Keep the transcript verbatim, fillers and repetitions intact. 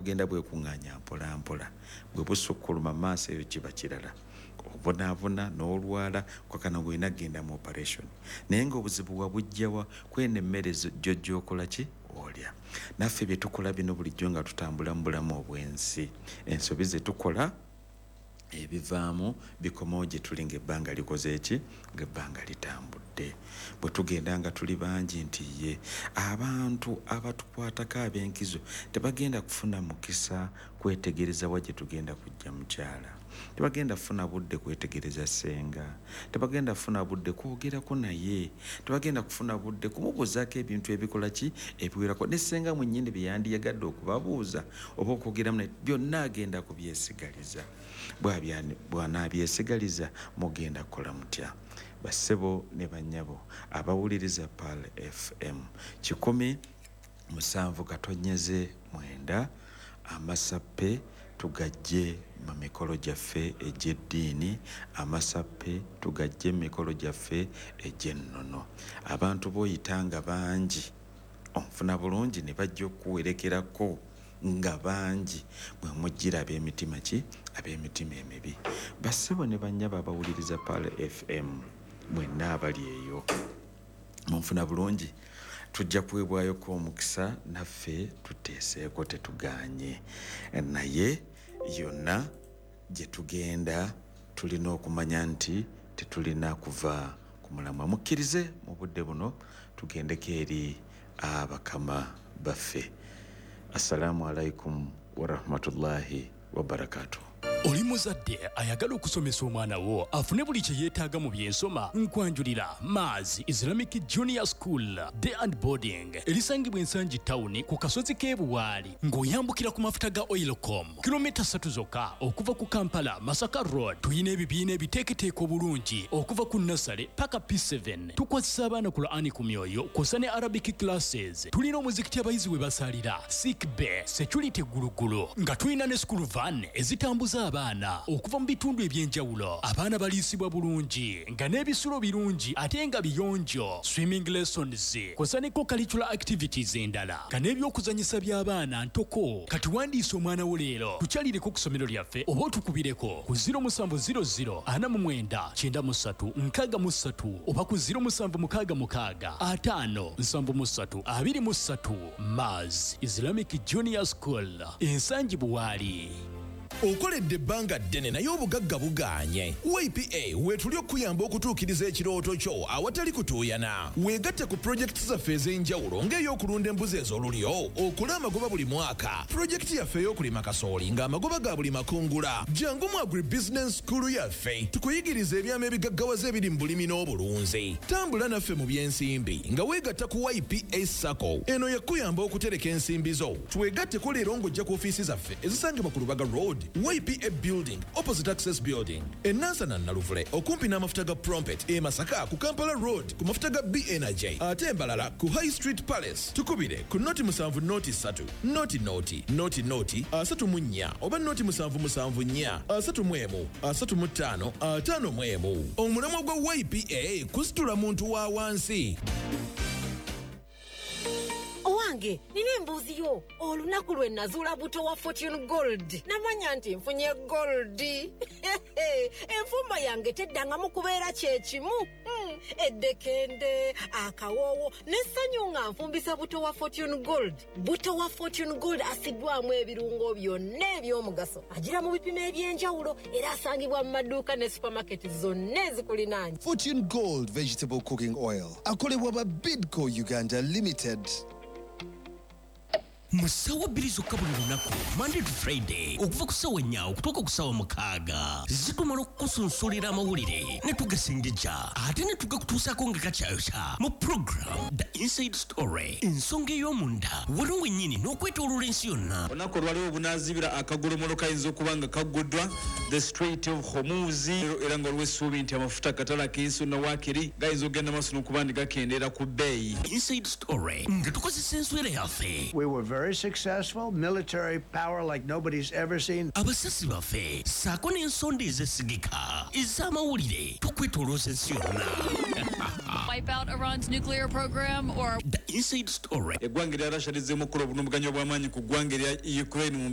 Bugenda bwekuŋŋaanya mpola mpola, bwe busukkuluma maaso eyo kiba kirala, obonaabona n'olwala kwakana ng'olina kugenda mu operation. Naye ng'obuzibu wabujjawa? Kweno emmere gyo gy'okola ki olya. Naffe bye tukola bino bulijjo nga tutambula mu bulamu obw'ensi, ensobi ze tukola ebivaamu bikomawo gye tuli ng'ebbanga likoze ki, ng'ebbanga litambudde. Bwe tugenda nga tuli bangi nti ye abantu abatukwatako ab'enkizo tebagenda kufuna mukisa kwetegereza wa gye tugenda kujja mukyala, tebagenda kufuna budde kwetegereza ssenga, tebagenda kufuna budde kwogerako naye, tebagenda kufuna budde kumubuuzaako ebintu ebikola ki ebiwerako. Ne ssenga mwennyini bye yandiyagadde okubabuuza oba okwogeramu naye byonna agenda kubyesigaliza. Bw'anaabyesigaligaliza mugenda kukola mutya? Bassebo ne bannyabo abawuliriza Pearl F M kikumi musanvu katonyeze mwenda, amasappe tugajje mu mikolo gyaffe egy'eddiini, amasappe tugajje mu mikolo gyaffe egy'ennono. Abantu b'oyitanga bangi onfuna bulungi ne bajja okuwerekerako nga bangi, bwe mujjira ab'emitima ki, ab'emitima emibi. Bassebo ne bannyabo abawuliriza Pearl F M mwenna abali eyo munfuna bulungi, tujja kuweebwayoko omukisa naffe tuteeseeko tetugaanye, naye yonna gye tugenda tulina okumanya nti tetulina kuva ku mulamwa. Mukkirize mu budde buno tugendeko eri abakama baffe. Assalamu alaikum warahmatullahi wabarakatuh. Oli muzadde ayagala okusomesa omwana wo afune buli kye yeetaaga mu byensoma, nkwanjulira Maz Islamic Junior School Day and Boarding erisangibwa Ensangi Town ku kasozi k'e Buwaali ng'oyambukira ku mafuta ga Oilcom kilomita ssatu zokka okuva ku Kampala Masaka Road. Tuyina ebibiina ebiteeketeeka obulungi okuva ku nursery paka P seven. Tukwasisa abaana Qur'ani ku myoyo kw'ossa ne Arabic classes. Tulina omuzikiti abayizi we basalira, sick bay, security gulugulu, nga tulina ne school van ezitambuza abaana okuva mu bitundu eby'enjawulo. Abaana baliisibwa bulungi nga n'ebisulo birungi ate nga biyonjo, swimming lessons kw'ossa ne co-curricular activities endala nga n'ebyokuzannyisa by'abaana ntoko. Kati wandiisa omwana wo leero, tukyalireko ku ssomero lyaffe oba otukubireko ku ziro musanvu ziro ziro ana mu mwenda kyenda mu ssatu nkaaga mu ssatu oba ku ziro musanvu mukaaga mukaaga ataano nsanvu mu ssatu abiri mu ssatu. Maz Islamic Junior School, Ensangi Buwaali. Okoledde ebbanga ddene naye obugagga bugaanye. Y P A weetuli okuyamba okutuukiriza ekirooto kyo awatali kutuuyana. Weegatte ku pulojekiti zaffe ez'enjawulo ng'ey'okulunda embuzi ez'olulyo, okola amagoba buli mwaka, pulojekiti yaffe ey'okulima kasooli ng'amagoba ga buli makungula. Jangu mu Agribusiness School yaffe tukuyigirize ebyama ebigaggawaza ebiri mu bulimi n'obulunzi. Tambula naffe mu by'ensimbi nga weegatta ku Y P A SACCO. Eno yakuyamba okutereka ensimbi zo. Twegatteko leero ng'ojja ku ofiisi zaffe ezisangibwa ku Lubaga Road, Y P A Building, opposite Access Building, e Nansana Naluvule, okumpi n'amafuta ga Prompet, e Masaka ku Kampala Road ku mafuta ga B Energy, ate Mbalala ku High Street Palace. Tukubire ku noti musanvu noti ssatu, noti noti, noti noti, asatu mu nnya, oba noti musanvu musanvu nnya, asatu mu emu, asatu mu ttaano, ataano mu emu. Omulamwa gwa Y P A kusitula muntu wa wansi. Owange, nina embuzi yo. Olunaku lwe nazuula buto wa Fortune Gold, namanya nti nfunye gold. Enfumba yange teddangamu kubeera kye kimu. Eddekende, akawoowo n'essanyu nga nfumbisa buto wa Fortune Gold. Buto wa Fortune Gold asiddwamu ebirungo byonna eby'omugaso, agira mu bipimo eby'enjawulo era asangibwa mu maduuka ne supermarket zonna ezikulinaanye. Fortune Gold Vegetable Cooking Oil akolebwa ba Bidco Uganda Limited. Mu ssaawa bbiri zokka buli lunaku, Monday to Friday, okuva ku ssaawa nnya okutuuka ku ssaawa mukaaga, zitumala okukusunsulira amawulire ne tugasengejja ate ne tugakutuusaako nga kakyayokya mu program The Inside Story, ensonga ey'omunda wano wennyini n'okwetooloola ensi yonna. Olunaku olwaliwo obunaazibira akagolomolo kayinza okuba nga kagguddwa the Strait of Hormuz, era nga waliwo essuubi nti amafuta akatale ak'ensi yonna waakiri gayinza okugenda maaso n'okuba nti gakendeera ku bbeeyi. Inside Story nga tukozesa enswera yaffe. We were very successful, military power like nobody's ever seen. Abasasi baffe ssaako n'ensonda ezesigika ez'amawulire tukwetoolooza ensi yonna. Wipe out Iran's nuclear program or The Inside Story. Eggwanga erya Russia lizzeemu okukola obulumbaganyi obw'amaanyi ku ggwanga erya Ukraine mu